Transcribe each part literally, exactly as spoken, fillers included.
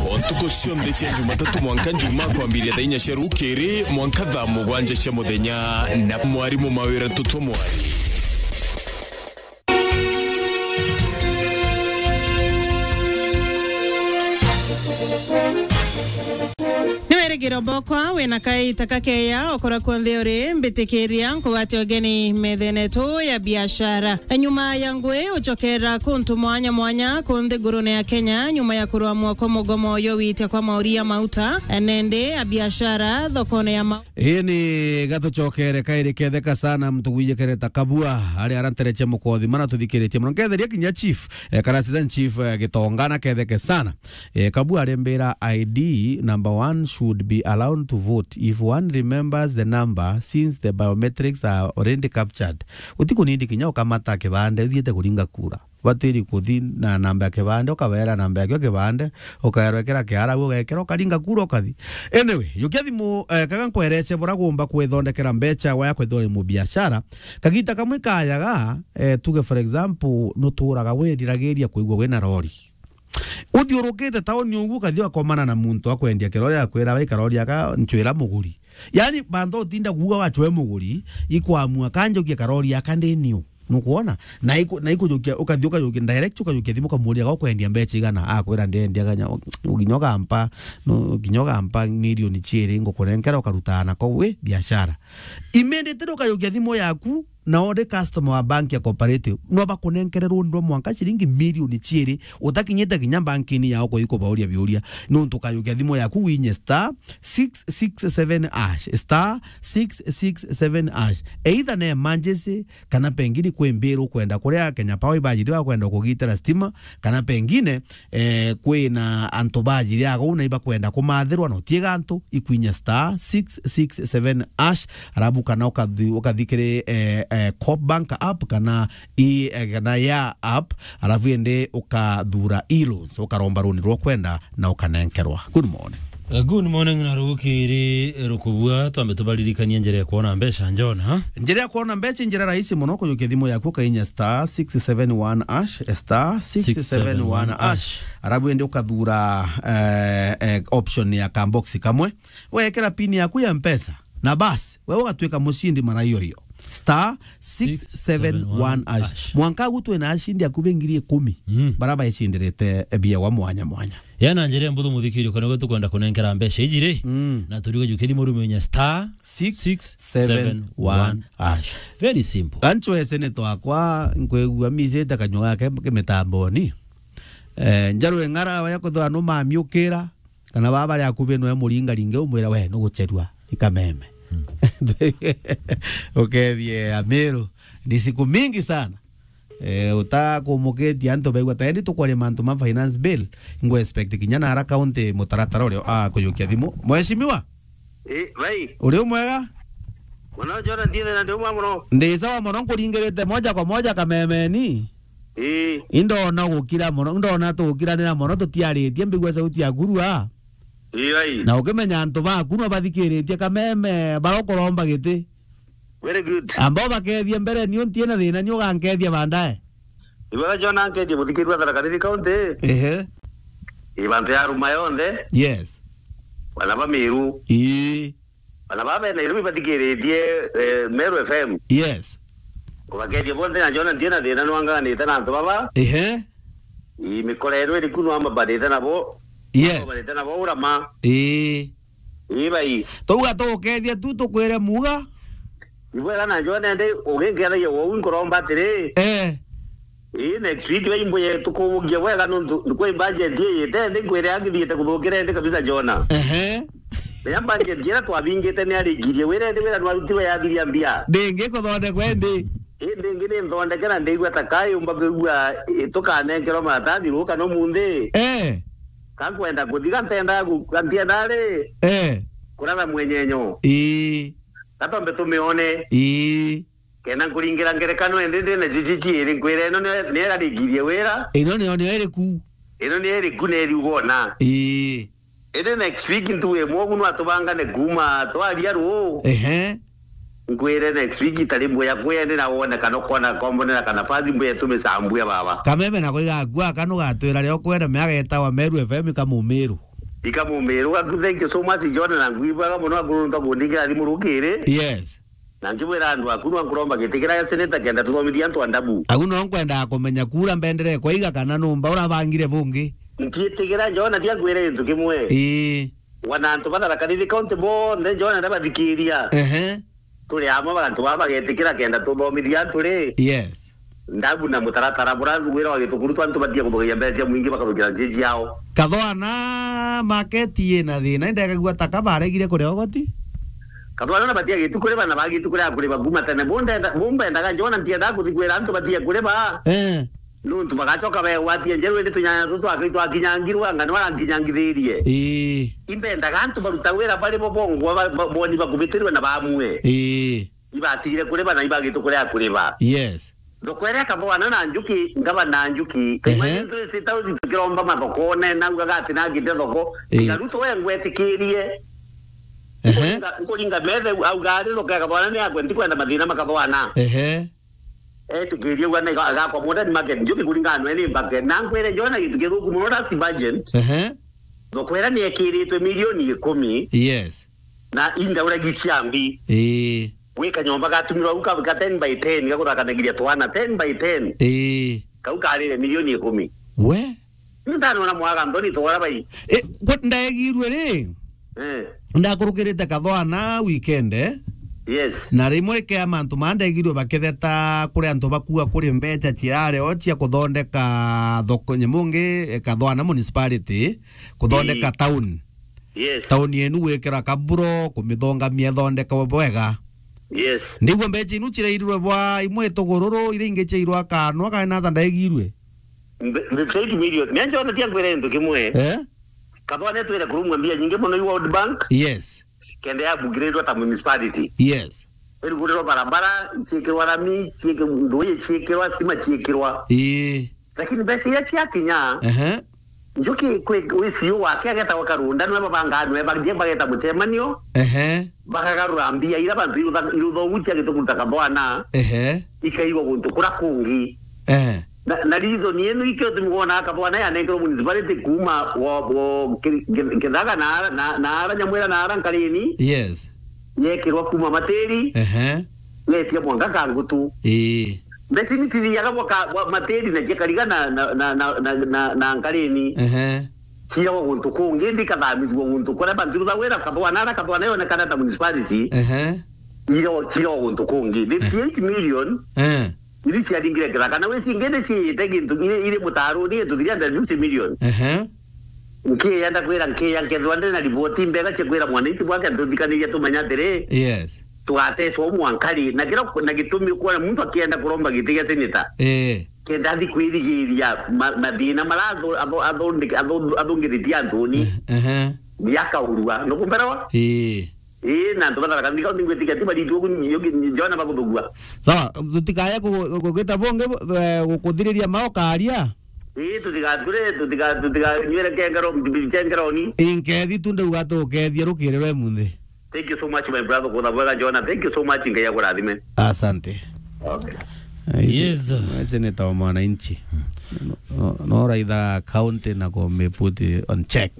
O ntuku cionthe cia Jumatatu mwanka Njumaa, kwambiria thaa inya cia rukiri mwanka thaa mugwanja cia muthenya, na mwarimu Mawira Tutwa Mwari. Ni wirigiro bokwa wina kaita kakeya ukora kunthe uri, mbitikiria nkugwate ugeni methene tu ya biashara. Nyuma ya ngui ucokera kuntu mwanya mwanya kunthi ngurune ya Kenya, nyuma ya kurwa mwoko mugomo yo witia kwa mauri ya mauta, nende ya biashara thokone ya ma- Ii ni gatucokere kairi ketheka sana, mtu gwijikere ta Kabua, ari ara ntereche mukothi, mana tuthikiritie muno. Nketheria kinya chief, eh, kana assistant chief, eh, Gitonga, na ketheke sana. Eh, Kabua arimbira, I D number one should be allowed to vote if one remembers the number, since the biometrics are already captured. Utikunindi kinya ukamata kibande uthiite kuringa kura. Batiri kuthi na namba ya kibande, ukabera namba yaku ya kibande, ukaerwa ikira kiara, ugekira, ukaringa kura, ukathi. Anyway, jukia thimu, eh, kaga nkwerece bura gumba kwithondekera mbecha wa ya kwithwa uri mubiashara. Kagita kamwe kajaga, eh, tuge for example, nuturaga wiriragiria kwigua wina rori. Uthiurukite tauni ugu, ukathi ugakomana na muntu akwendia kirori, akwira, "Bai karori aka ncwira muguri." Yani, bantu utinda kuuga wacwe muguri, ikwamua, "Kanjukie karori aka ndi niu." Nukwona? Na iku-, na ikujukia, ukathi ukajukia direct, ukajukia thimu, ukamuria, "Ga ukwendia mbecha igana?" Akwira, "Ndendia ganya, uginya ugampa, no, uginya ugampa milioni chiiri, ngukunenkera, ukarutaa nako wi biashara." Immediately ukajukia thimu yaku, na uri customer wa bank ya Cooperative, no bakunenkere rundi rwa mwanka ciringi milioni chiiri utakinyite kinya bankini yao kuikubauria biuria, nuntu ukajukia thimu yaku winye star six six seven hash, star six six seven hash. Either na emergency, kana pengine kwi mbiru ukwenda kuria Kenya Power ibajiri bakwenda kugitira stima, kana pengine eh, kwina antu bajiri agou na ibakwenda kumathirwa, na utiega antu, ikwinya star six six seven hash, arabu kana ukathi-, ukathi kiri, eh, eh, Coop Bank app kana i, eh, kana ya app, arabu indi ukathura e-loans, ukaromba runi rwa kwenda na ukanenkerwa. Good morning. Eh, good morning na rukiri, eh, rukubua, twambe tubaririkanie njira ya kuona mbeca, Njona. Njira ya kuona mbeca, njira rahisi muno, kujukia thimu yaku ukainya star six seven one hash, star six seven one hash. Arabu indi ukathura, eh, eh, option ya kambox kamwe, wekera pin yaku ya Mpesa, na basi, we ugatwika mucindi mara iyo iyo. Star six seven one hash. Mwanka agu twina acindi akubi ngiri ikumi, mm, bara baecindirite biewa mwanya mwanya. Ya na njira mbuthu, muthikiri, kana gwe tukwenda kunenkera mbeca iji ri, mm, na turigo jukia thimu rume inya star six seven one hash. Very simple. Ganchwese ni twakwa, nkwigua micite kanyua gake kimitamboni. Eh, njaru eng'ara ya kuthwa no mamiukira, kana baba bari akubi noe muringaringe umwira, "We, nugucherua ikameme." Mm. Ukethie Amiru, ni siku mingi sana. Eh, utakumukitie antu baigua ta endi tukwaria mantu ma finance bill, ngwe expect kinya na ara county mutaratara uria, ah, kujukia thimu. Mheshimiwa? Eh, bai. Uri umwega? Muno, Jona, ndie na ndi umwe muno. Ndi sawa muno, nkuringirite moja kwa moja kamemeni. Eh. Indona gukira muno, indona tugukiranira muno, tutiaritie, mbigua sauti yaku rua. Eh, bai. Na ukimenya antu baku no bathikiritie kameme, bara ukuromba giti. Very good. Ambao bakethia mbere, niu ntiena thina, niu ugankethia baadaye. Ibwega Jona, nkethia muthikirwa Tharaka Nithi County. Ehe. Ibantu ya Ruma yonthe. Yes. Bana ba Miru. Ii. Bana ba bena Nairobi bathikiritie, eh, Meru F M. Yes. Ubakethia bonthe na Jona, ntiena thina, nwanganite na antu baba. Ehe. Ii, mikora yenu iriku no amabarite nabo. Yes. Amabarite nabo urama. Ii. Ii bai. Twauga tugukethia tu, tukwire muga. Ibwega na Jona, ndi uginkethagia wou, nkuromba atiri. Eh. Ii, next week bai mbuye tukubugia bwega nuntu kwi budget iyite ndi, nkwire akithiite kuthukira ndi kabisa Jona. Ehe. Riria budget iria twabingite ni arigirie wira ndi, wira nwarutirwe yathiria mbia. Ndingi kuthondekwa indi. Indi ingi ni nthondeke na ndigua ta kai umba kwigua, ii, tukanenkerwa maratathi ruu kana umunthi. Eh. Ka nkwenda kuthiga, ntendaa gu-, ka ntiendaa ri? Eh. Kuratha mwenyenyo. Ii. Ka twambe tumione. Ii. Kenda nkuringira ngerekano indi ndi na jiji ciiri, nkwira ino ni, ni irarigirie wira. Ino niyo, niyo iriku. Ino ni iriku na iriuga ona. Ii. Indi next week ntugu imwe ugu nwatubangane kuuma twaria ruu. Ehe. Nkwire next week itari mbuya kwene na wone kana ukona kombonera kana fazi mbuya tumicambue baba. Kameme nako igakua, kana ugatwira rio kwene meaga etawa Meru F M ikamumiru. Ikamumiru. Aku, thank you so much, John, na ngwibwaga muno akuru nto kundikira thimu rukiri. Yes. Na nkibwira andu aku no nkuromba giti kiria gya seneta kenda tuthomithia antu a Ndabu. Au no nkwendaga kumenya kura mbendere kwaiga kana numba urabangire bungi. Nkiitigira John, tia nkwire gintu kimwe. Ii. Wana antu ba Tharaka Nithi County bonthe, John, na bathikiria. Ehe. Turi amwe bantu baba bagetikira kenda tuthomithia antu ri. Yes. Ndabu na mutaratara bura wira wa gitukuru twa antu batia kuthugagia mbeca cia mwingi bakathukira nji ciao. Kathwana market ina thina, indekagua ta kabaregire kuria ugoti. Kathwana na batia gitu kuriba na bagitu kuria kuriba kuma tene. Bundenda, bumbendaga John, ntiendaga kuthi kwira antu batia kuriba. Eh. Nuntu bagacoka begwatia njeru, indi tunyanya tutu akai twakinyangirwe, anga ni barankinyangithirie. Ii. Imbendaga antu baruta wira bari bo bongwa ba-, ba-, boni bakubitirwe na bamwe. Ii. Ibatigire kuriba na ibagitu kuria kuriba. Yes. Ndokwere Kathwana na Njuki, ngaba na Njuki. Ehe. Kaima ntu isi tausi tukiromba mathokone, naugaga ati nagite thoko. Ii. Ngaruto we ngwetikirie. Ehe. Nkuringa, nkuringa methe, auga ari thoko ya Kathwana ni yakwe, ntikwenda mathina ma Kathwana. Ehe. Etikirie uga na iga-, igakwa modern market, Njuki kuringana nwe ni mbake. Na nkwire John gintu githuku muno, last budget. Ehe. Thoko ira ni ekiritwe milioni ikumi. Yes. Na indauragi cia mbi. Ii. Gwi kanyomba gatumirwa au ka, ka ten by ten, gakuthakanagiria twana ten by ten. Ii. Kau karire milioni ikumi. We? Ntanona mwaga nthoni twara bai. Eh, kwa-, ndaegirwe ri? Eh. Ndakurukirite Kathwana weekend, eh? Yes. Na rimwe ikea mantu maa ndegirwe bakitheta kuri antu bakua kuri mbeca ciare o cia kuthondeka thoko nyemungi, eh, Kathwana municipality, kuthondeka Ii. town. Yes. Town yenu gwikira kaburo, kumithongamia ithondekwe bwega. Yes. Ndigua mbeca inu cirairirwe bwa imwe itugururu, iria ingi ciairwa kanwa, kana nata ndaegirwe? Mbe-, mbe-, eight million. Mia njona tia nkwire gintu kimwe. Eh? Kathwane twire kurumwa mbia nyingi muno i World Bank. Yes. Kenda ya upgradewa ta municipality. Yes. Iruguriro barabara, ciikirwa rami, ciiki-, nduuji ciikirwa, stima ciikirwa. Ii. Lakini mbeca iria ciakinya, Ehe. Njuki kwi, wi C E O wake agetagwa Karunda, nwe babangaa, nwe bathie bageta mucemanio, Ehe. bakagarura mbia ira bantu irutha-, iruthogu cia gitukuta Kathwana, Ehe. ikaigwa guntu kura kungi. Ehe. Na, na reason yenu ikio tumi wona Kathwana yanengerwo municipality kuuma wo, wo ki-, ki-, Kithaga na ara, na, na ara Nyamwira na ara Nkarini. Yes. Yekirwa kuuma Matiri. Ehe. Yetia mwanka Kangutu. Ii. Mbeca ni tithiaga bwa ka-, bwa Matiri na ciakariga na, na, na, na, na, na, na Nkarini. Ehe. Ciiragwa guntu kungi, indi ikathamithua guntu kuria bantu ruthagwira Kathwana, ara Kathwana yonekana ta municipality. Ehe. Iro, ciiragwa guntu kungi. Fifty-eight million. Eh. Iri ciaringire Kithaka. Na witi ingi ni ciite gintu iri, iri mutaruni gintu three hundred fifty million. Ehe. Nkiya ndakwira nkiya nkethwa ndina riboti mbega cia kwira mwananchi bwake ntuthikaniria tumenya atiri, Yes. tugatecwa u mwankari. Na kira, na gitumi kwona muntu akienda kuromba giti gia seneta. Eh. Kenda athi kwirigiria ma-, mathina mara athu-, athu-, athundiki-, athu-, athungithitie anthuni. Eh, ehe. Ni akaurua. Nukumberewa? Eh. Ii, na antu ba Tharaka Nithi County ngwitikia ti baritu ugu ni, ugu ni Jona baguthugua. Sawa, tutikaye ku-, ku-, kugita bungi, eh, gukuthiriria mao karia. Ii, tutigature, tutiga-, tutiganywire kengero, nkengeroni. Inkethi tu ndauga tukethie rukiri rwe munthi. Thank you so much, my brother, kutha bwega Jona. Thank you so much, Ngai akurathime. Asante. Okay. Eh, isi-, Yes. isi ni ta mwananchi. No, no, no raitha county na ku me put on check.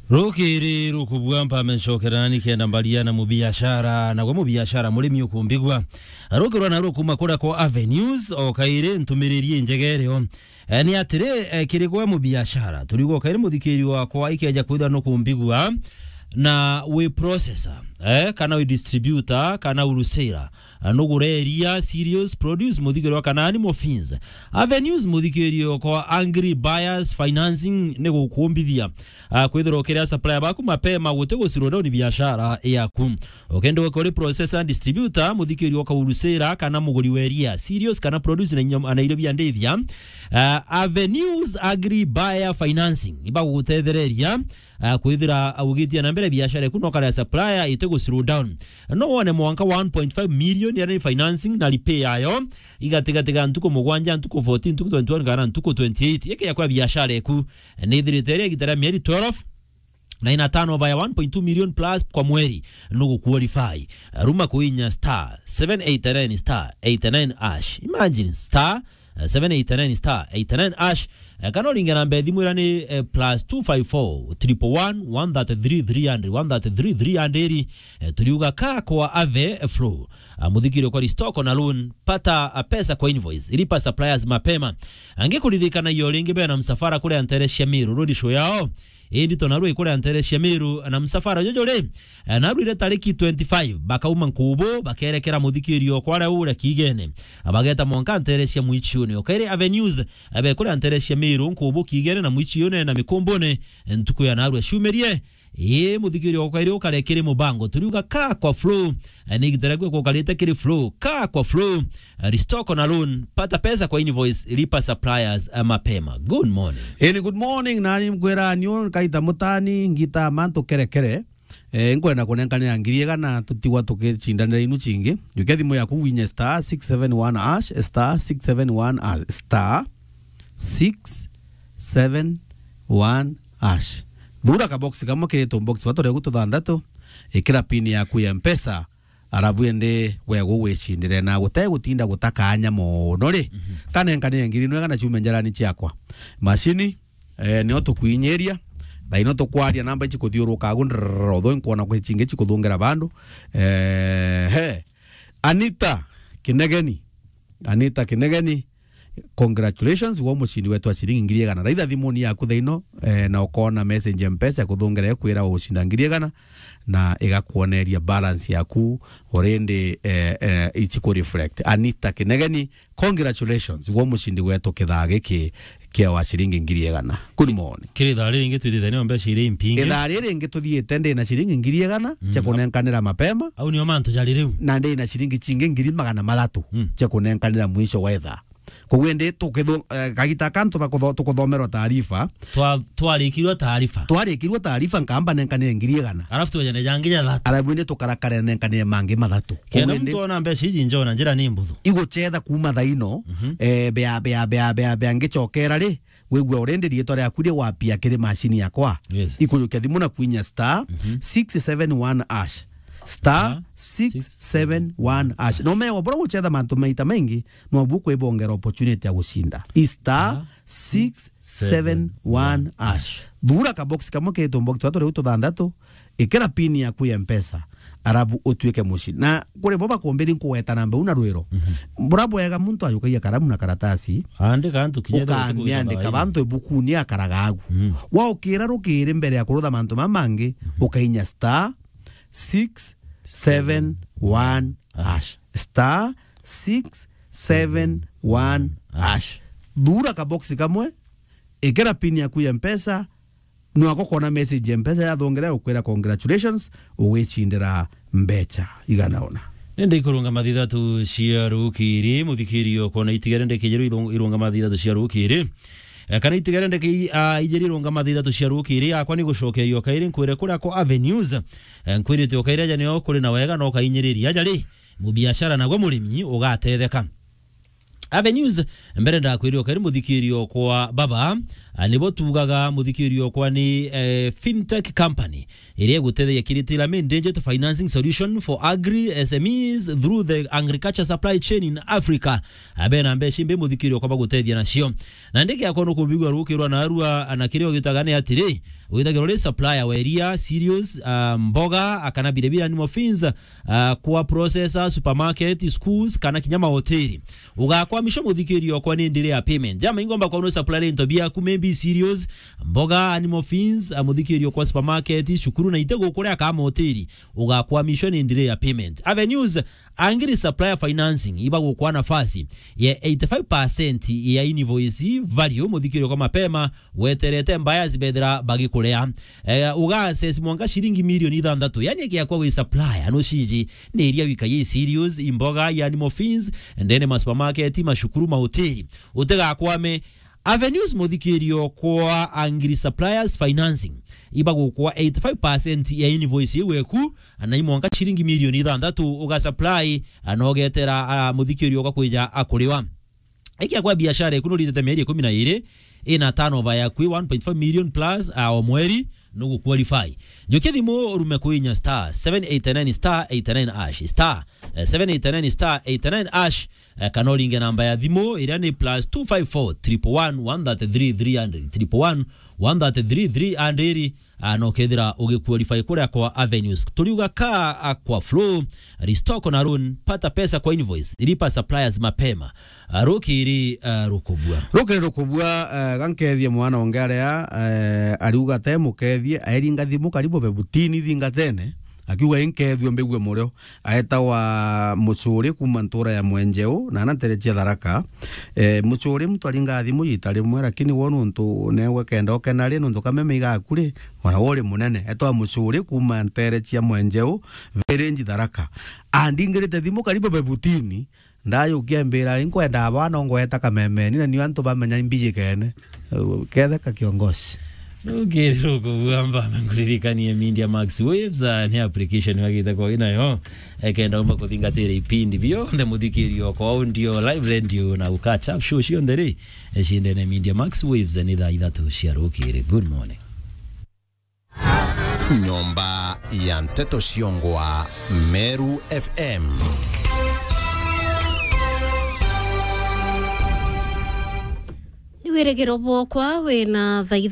Rukiri rukubua mpame ncokerani kenda mbaria na mubiashara, na gwe mubiashara murimi ukumbigua. Rukirwa na rukuma kuria kwa Avenues, o kairi ntumiriri injegerio. Eh, ni atiri, eh, kiri gwe mubiashara, turiuga o kairi muthikiri wakwa ikeja kwithira nukumbigua, na wi processor, eh, kana wi distributor, kana wholesale. Ah, nugure iria, cereals, produce, muthigirwa kana animal feeds. Avenues, muthikirio kwa Angry Buyers Financing ni gukumbithia, ah, kwithirwa ukiria supplier baku mapema guti gu slow down biashara yaku. Ukenda ukorwe processor, distributor, muthikirio kwa wholesale kana muguri wa iria, cereals kana produce na inyom-, na irio bia ndithia, ah, Avenues Agri Buyer Financing ibagugutethereria ah, kwithira ugitia na mbere biashara eku no kare supplier ite gu slow down. No wone mwanka one point five million ya financing na repay yayo igatigatiga ntuku mugwanja, ntuku fourteen, ntuku twenty-one kana ntuku twenty-eight. Yeke ya kwa biashara eku ni ithirite ria gitara mieri twelve. na ina turnover ya one point two million plus kwa mweri, nugu qualify. Ruma kuinya star seven eight nine star eight nine hash. Imagine, star seven eight nine star eight nine hash. Eh, kana uringe namba ya thimu iria ni, eh, plus two five four, triple one, one thirty-three, three hundred, one thirty-three, three hundred. Eh, turiuga ka kwa Ave Flow. Ah, muthikiri kwa restore na loan, pata, ah, pesa kwa invoice, lipa suppliers mapema. Angikuririkana iyo ringi bena msafara kuria ntere cia Meru, road show yao. Indi to narua ikuria ntere cia Meru na msafara juju ri, eh, narwire tariki twenty-five, bakauma Nkubu, bakerekera muthikirio kwaria uria Kigene. Bageta mwanka ntere cia Mwichiuni. Okaire Avenues, eh, bekuria ntere cia Meru, Nkubu, Kigene na Mwichiuni na Mikumbune, eh, ntuku ya narua ciumirie. Ii, muthikirio okaire ukare kiri mubango. Turiuga ka kwa Flow, eh, ni igitera gwe kukarite kiri Flow. Ka kwa Flow, eh, restore na loan, pata pesa kwa invoice, lipa suppliers, eh, mapema. Good morning. Eni, good morning, nani mkwira niu kaita mutani, ngita mantu kerekere. Eh, nkwenda kunenkanira ngiri igana, tutigwa tukicindanira inu cingi. Jukia thimu yaku winye star six seven one hash, star six seven one hash, star six seven one hash. Thura ka box kamwe kiri tu box twa turia tuthanthatu, ikira pin yaku ya Mpesa, arabu indi wegu wicindire na gute gutinda gutaka anya mono ri. Mhm. Kanenkanire ngiri nwega na ciume njarani ciakwa. Mashini, eh, nio tukwinyiria, thaino tukwaria namba ici kuthiuruka agu, ndrrr, although nkwona kwi cingi cikuthungira bandu. Eh, he. Anita Kinegeni. Anita Kinegeni, congratulations, wo mucindi wetu wa ciringi ngiri igana. Raitha thimuni yaku thaino, eh, na ukona message ya Mpesa ya kuthungera ikwira ugucinda ngiri igana, na igakwoneria balance yaku already, eh, eh, ici ku reflect. Anita Kinegeni, congratulations, wo mucindi wetu kithaa giki kia wa ciringi ngiri igana. Good morning. Kiri ithaa riri ringi twithithania mbeca iri impingi. Ithaa riri ringi tuthiite ndi na ciringi ngiri igana cia kunenkanira mapema. Au nio mantu jari riu. Na ndi na ciringi cingi ngiri magana mathatu cia kunenkanira mwisho wa ithaa. Koguo indi tukithu-, eh, kagita kantu bakutho-, tukuthomerwa taarifa. Twa-, twarikirwe taarifa. Twarikirwe taarifa, nkamba nenkanire ngiri igana. Alafu twejane jangi ja thatu. Alafu indi tukarakare nenkanire mangi mathatu. Kenda koguo indi muntu ona mbeca iji njona njira ni mbuthu. Igucetha kuuma thaino, eh, bea, bea, bea, bea, bea ngicokera ri, wigua already riitwa riaku ri wapia kiri macini yakwa. Yes. Ikujukia thimu na kwinya star six seven one hash. Star six seven one hash. No mewa bora gucetha mantu maita maingi, no bu kwibongera opportunity ya gucinda. I star six seven one hash. Thura ka box kamwe kiri tu box twa turi tuthanthatu, ikira pin yaku ya Mpesa, arabu utuike mucindi. Na kuri bo bakumbiri nkugweta namba u na rwiro. Bura bwega muntu ajukagia karamu na karatasi. Andika antu kinya ukaandika bantu ibukuni akaraga agu. Waukira rukiri mbere ya kurutha mantu mama mangi, ukainya star six seven one hash. Star six seven one hash. Thura ka box kamwe, ikira pin yaku ya Mpesa, nwako kona message ya Mpesa yathongera ukwira congratulations, ugicindira mbeca igana ona. Nende ikurunga mathithatu cia rukiri, muthikirio kona itigere ndekijeru irung-, irunga mathithatu cia rukiri. Eh, kana itigere ndeke i-, a, ijeri irunga mathithatu cia rukiri, akwa ni gucokeria o kairi nkwire kuria kwa Avenues. Eh, nkwirite o kairi aja nio kuri na wega no kainyiriria aja ri, mubiashara nagwe murimi ugatetheka. Avenues, mbere ndakwirire ukari muthikirio kwa baba, a, nibo tugaga muthikirio kwa ni, eh, fintech company iria igutethegia kiritira main digital financing solution for agri S M Es through the agriculture supply chain in Africa. Abena mbeca imbi muthikirio kwa bagutethia nacio. Na ndiki yakwa nukumbigua rukirwa na arua na kiria ugitaga ni atiri, withagirwo ri supplier wa iria, cereals, ah, mboga, akana biribiri animal feeds, ah, kwa processor, supermarket, schools, kana kinya mahoteli. Ugakwamishwa muthikirio okwa ni ndiri ya payment. Jama ingomba kwa no supplier into biaku, maybe cereals, mboga, animal feeds, ah, muthikirio kwa supermarket, cukuru na ite gukuria ka mahoteli. Ugakwamishwa ni ndiri ya payment. Avenues, angiri supplier financing, ibagukwa nafasi ya eighty-five percent ya invoice value muthikirio kwa mapema, weterete buyers bethira bagikurea. Eh, uga access mwanka ciringi milioni ithanthatu. Yani, ikiakwa wi supplier, no ciji, ni iria wika yi cereals, imboga, i animal feeds, ndene ma supermarket, mashukuru, mahoteli. Utigakwame. Avenues muthikirio kwa angiri suppliers financing. Ibagukwa eighty-five percent ya invoice iu eku, na imwanka ciringi milioni ithanthatu uga supply, na ugetera, ah, muthikirio ugakwija akuriwa. Ikiakwa biashara eku nuritete mieri ikumi na iri, ina turnover yaku one point five million plus, ah, o mweri, nugu qualify. Njukia thimu urume kuinya star seven eight nine star eight nine hash, star, eh, seven eight nine star eight nine hash, eh, kana uringe namba ya thimu iria ni plus two five four triple one one thirty three three hundred, triple one one thirty three three hundred, ah, na ukethira ugiqualify kuria kwa Avenues. Turiuga ka, ah, kwa Flow, restock na loan, pata pesa kwa invoice, lipa suppliers mapema. Ah, rukiri, ah, rukubua. Rukiri rukubua, eh, gankethie mwana onge aria, eh, ariuga te mukethie, airinga thimu karibu bebutini thingatene, akiuga inkethue mbigue murio. Aetawa Mucuri kuma ntura ya Mwenjeu, na ana ntere cia Tharaka. Eh, Mucuri muntu aringa thimu ita rimwe, lakini wo nuntu newe kenda ukena ri, nuntu kameme igaku ri, ona wo uri munene. Etwa Mucuri kuma ntere cia Mwenjeu, village Tharaka. Andingirite thimu karibu bebutini, ndajukia mbira, "Inkwenda aba no ngweta kamemeni, na nio antu bamenya imbijikene." Ketheka kiongozi. Rukiri rukubua mbamba nkuririkanie Media Max Waves, ah, ni application wagite kwa inayo. Ekenda umba kuthingatira ipindi bionthe muthikiri okwa audio, live radio na ukacha show cionthe ri. Ecindene Media Max Waves ni thaa ithatu cia rukiri. Good morning. Nyomba ya nteto ciongwa Meru F M. Ni wirigiro bwokwa wina thaa